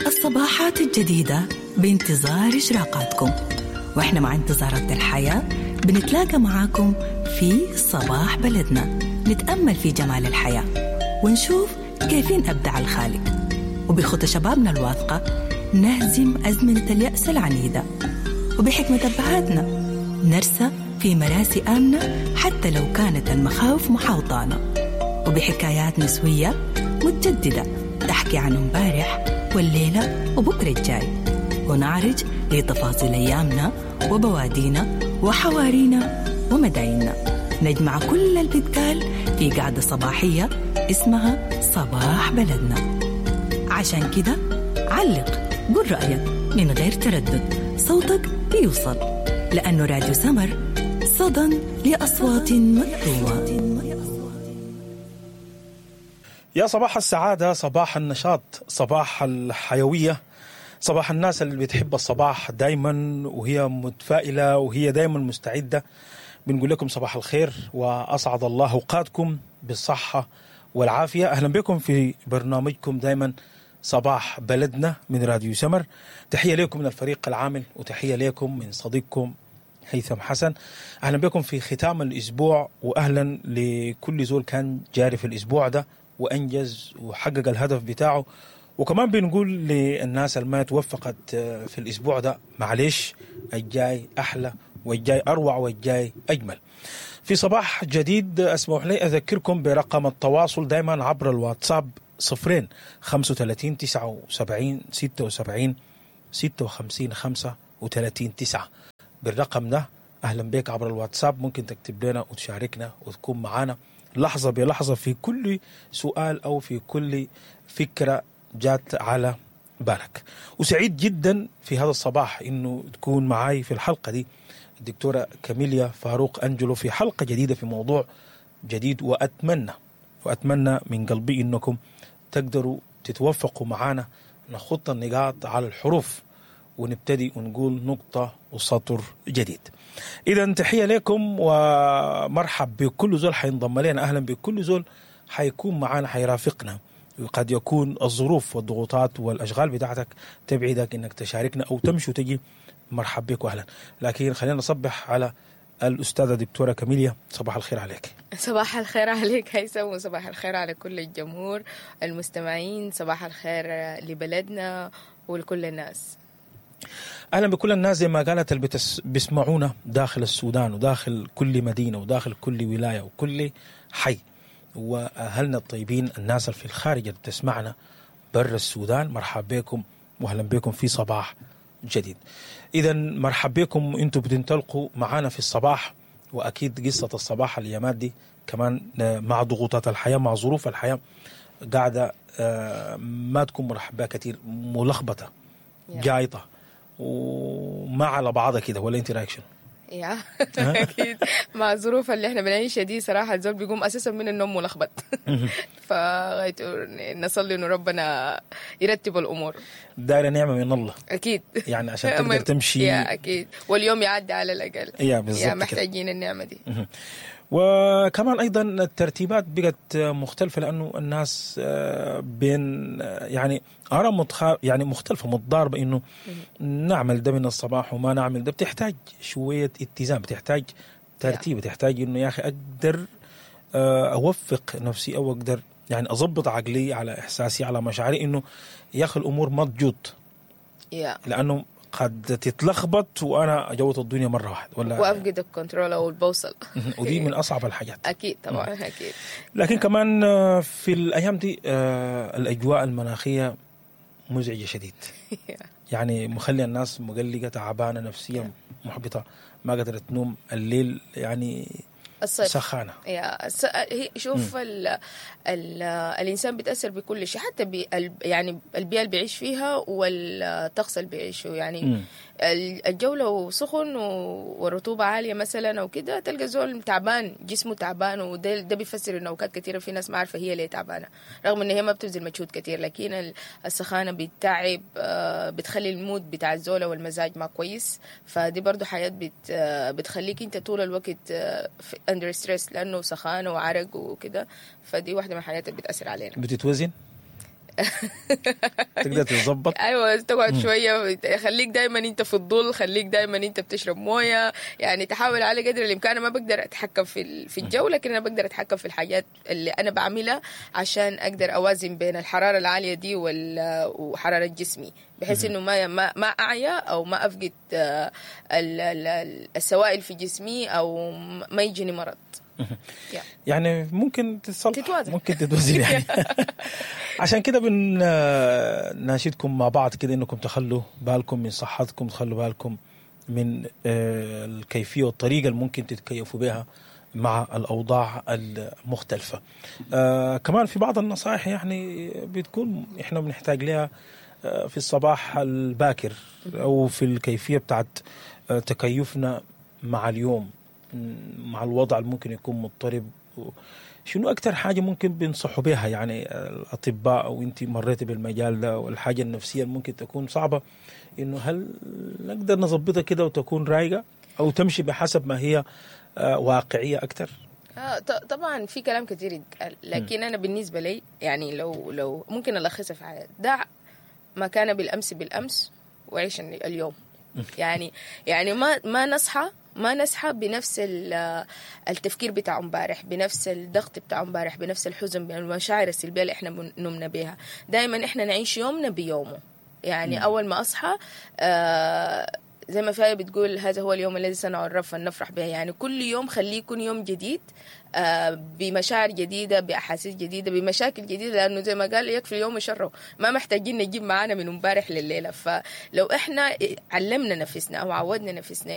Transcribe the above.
الصباحات الجديدة بانتظار إشراقاتكم، وإحنا مع انتظارات الحياة بنتلاقى معاكم في صباح بلدنا، نتأمل في جمال الحياة ونشوف كيفين أبدع الخالق، وبخطى شبابنا الواثقة نهزم أزمنة اليأس العنيدة، وبحكمة أبهاتنا نرسى في مراسي آمنة حتى لو كانت المخاوف محاوطانا، وبحكايات نسوية متجددة تحكي عن امبارح والليلة وبكرة الجاي، ونعرج لتفاصيل أيامنا وبوادينا وحوارينا ومدايننا. نجمع كل البتقال في قعدة صباحية اسمها صباح بلدنا. عشان كده علق، قول رأيك من غير تردد، صوتك بيوصل، لأنه راديو سمر صدى لأصوات مكتومة. يا صباح السعادة، صباح النشاط، صباح الحيوية، صباح الناس اللي بتحب الصباح دايما وهي متفائلة وهي دايما مستعدة. بنقول لكم صباح الخير وأسعد الله أوقاتكم بالصحة والعافية. أهلا بكم في برنامجكم دايما صباح بلدنا من راديو سمر. تحية لكم من الفريق العامل وتحية لكم من صديقكم هيثم حسن. أهلا بكم في ختام الأسبوع، وأهلا لكل زول كان جاري في الأسبوع ده وأنجز وحقق الهدف بتاعه. وكمان بنقول للناس اللي ما توفقت في الأسبوع ده معلش، الجاي أحلى والجاي أروع والجاي أجمل. في صباح جديد أسمح لي أذكركم برقم التواصل دايما عبر الواتساب 0 35 79 76 56 35 9. بالرقم ده أهلا بك عبر الواتساب، ممكن تكتب لنا وتشاركنا وتكون معنا لحظة بلحظة في كل سؤال أو في كل فكرة جات على بالك. وسعيد جدا في هذا الصباح إنه تكون معاي في الحلقة دي الدكتورة كاميليا فاروق أنجلو في حلقة جديدة في موضوع جديد، وأتمنى من قلبي إنكم تقدروا تتوفقوا معانا نخط النقاط على الحروف ونبتدي ونقول نقطة وسطر جديد. إذا تحية لكم ومرحب بكل زول حينضم لنا، أهلا بكل زول حيكون معانا حيرافقنا. قد يكون الظروف والضغوطات والأشغال بتاعتك تبعدك إنك تشاركنا أو تمشي وتجي، مرحب بك وأهلا. لكن خلينا نصبح على الأستاذة دكتورة كاميليا. صباح الخير عليك. صباح الخير عليك هيثم، وصباح الخير على كل الجمهور المستمعين، صباح الخير لبلدنا ولكل الناس. أهلا بكل الناس زي ما قالت اللي بيسمعونا داخل السودان وداخل كل مدينة وداخل كل ولاية وكل حي، وأهلنا الطيبين الناس اللي في الخارج اللي بتسمعنا برا السودان، مرحب بكم وأهلا بكم في صباح جديد. إذا مرحب بكم، أنتم بتنطلقوا معانا في الصباح، وأكيد قصة الصباح الأيامات دي كمان مع ضغوطات الحياة مع ظروف الحياة قاعدة ما تكون مرحب بها كثير، ملخبطة جايطة وما على بعضها كده، ولا انت رايك شنو؟ يا اكيد مع الظروف اللي احنا بنعيشها دي صراحة الزول بيقوم اساسا من النوم ملخبط. فغايته نصلي انه ربنا يرتب الامور. دايرة نعمه من الله اكيد، يعني عشان تقدر تمشي يا اكيد، واليوم يعدي على الاقل. يا بالضبط، يا محتاجين النعمة دي. وكمان ايضا الترتيبات بقت مختلفة، لانه الناس بين يعني اراء يعني مختلفة متضاربة، انه نعمل ده من الصباح وما نعمل ده. بتحتاج شوية اتزان، بتحتاج ترتيب، بتحتاج انه يا اخي اقدر اوفق نفسي او اقدر يعني اضبط عقلي على احساسي على مشاعري، انه يا اخي الامور ما تجوط، لانه قد تتلخبط وانا اجوط الدنيا مرة واحدة، ولا وافقد ال control او البوصلة. ودي من اصعب الحاجات. اكيد طبعا اكيد. لكن كمان في الايام دي الاجواء المناخية مزعجة شديد. يعني مخلي الناس مقلقة تعبانة نفسيا محبطة، ما قدرت تنوم الليل، يعني الصيف سخانة. يا شوف ال ال الإنسان بيتأثر بكل شيء، حتى يعني البيئة اللي بيعيش فيها والطقس اللي بيعيشه. يعني الجو لو سخن والرطوبة عالية مثلا أو كده، تلقى زول تعبان، جسمه تعبان، وده ده بيفسر إنه أوقات كثيرة في ناس ما عارفة هي ليه تعبانة، رغم إن هي ما بتبذل مجهود كثير، لكن السخانة بتتعب، بتخلي ال mood بتاع الزولة والمزاج ما كويس. فدي برضو حاجات بتخليك أنت طول الوقت under stress، لأنه سخانة وعرق وكده. فدي واحدة من الحاجات اللي بتأثر علينا. بتتوزن؟ تقدر تتظبط. ايوه، تقعد شوية، خليك دائما انت في الظل، خليك دائما انت بتشرب مويه، يعني تحاول على قدر الامكان. أنا ما بقدر اتحكم في الجو، لكن انا بقدر اتحكم في الحاجات اللي انا بعملها عشان اقدر اوازن بين الحرارة العالية دي وحرارة جسمي، بحيث انه ما اعيا او ما افقد السوائل في جسمي او ما يجيني مرض. يعني ممكن تتصلح، تتوازن. ممكن تتوازن يعني. عشان كده بنناشدكم مع بعض كده انكم تخلوا بالكم من صحتكم، تخلوا بالكم من الكيفية والطريقة اللي ممكن تتكيفوا بها مع الاوضاع المختلفة. كمان في بعض النصائح يعني بتكون احنا بنحتاج لها في الصباح الباكر او في الكيفية بتاعت تكيفنا مع اليوم، مع الوضع اللي ممكن يكون مضطرب. شنو اكثر حاجة ممكن بينصحوا بها يعني الاطباء، او انت مريتي بالمجال ده، والحاجة النفسية اللي ممكن تكون صعبة، انه هل نقدر نظبطها كده وتكون رايقة او تمشي بحسب ما هي واقعية اكثر؟ طبعا في كلام كثير يتقال، لكن انا بالنسبة لي يعني لو ممكن الخصها في حاجة: دع ما كان بالامس بالامس وعيش اليوم. يعني ما نصحى بنفس التفكير بتاع امبارح، بنفس الضغط بتاع امبارح، بنفس الحزن، بالمشاعر السلبية اللي احنا نمنا بيها. دائما احنا نعيش يومنا بيومه. يعني اول ما اصحى، زي ما في آية بتقول: هذا هو اليوم الذي صنعه الرب فلنفرح به. يعني كل يوم خليه يكون يوم جديد، بمشاعر جديدة، بأحاسيس جديدة، بمشاكل جديدة، لأنه زي ما قال: يكفي اليوم شره. ما محتاجين نجيب معانا من امبارح لليلة. فلو احنا علمنا نفسنا أو عودنا نفسنا